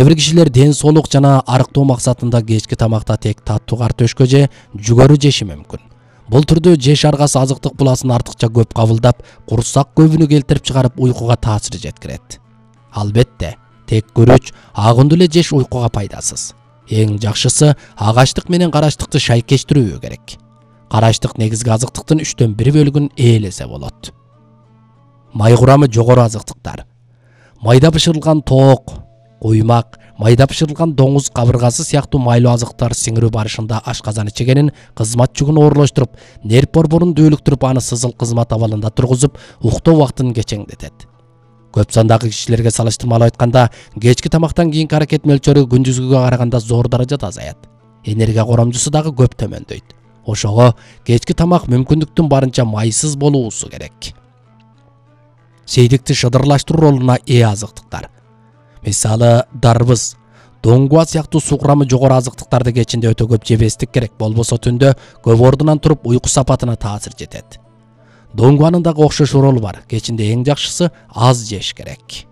Кээ бир кишилер ден соолук жана арыктоо максатында кечки тамакта тек таттуу картөшкө же жүгөрү жеши мүмкүн. Бул түрдө жеш аргасы азыктык буласын артыкча көп кабылдап, курсак көбүнү келтирип чыгарып уйкуга таасир жеткирет. Албетте, тек күрүч, агындуу эле жеш уйкуга пайдасыз. Эң жакшысы агачтык менен карачтыкты шайкештирүү керек. Карачтык негизги азыктыктын 3/1 бөлүгүн ээлесе болот. Май курамы жогору азыктыктар. Майда бышырылган тоок, куймак, майда бышырылган доңуз кабыргасы сыяктуу майлуу азыктар сиңирүү барышында ашказан ичегенин кызмат жүгүн оорлоштуруп, нерв борборун дөөлүктүрүп, аны сызыл кызмат абалында тургузуп, уктоо убактын кечеңдетет. Көп сандагы кишилерге салыштырмалуу айтканда, кечки тамактан кийинки аракет мөлчөрү күндүзгүгө караганда зор даражада азаят. Энергия коромжусу дагы көп төмөндөйт. Ошого кечки тамак мүмкүндүктүн барынча майсыз болуусу керек. Сейдикти шыдырлаштыруу ролуна ээ азыктыктар. Мисалы, дарбыз, доңгуа сыяктуу суу курамы жогору азыктыктарды кечинде өтө көп жебестик керек, болбосо түндө көп ордунан туруп уйку сапатына таасир жетет. Доңгуанын дагы окшош ролу бар. Кечинде эң жакшысы аз жеш керек.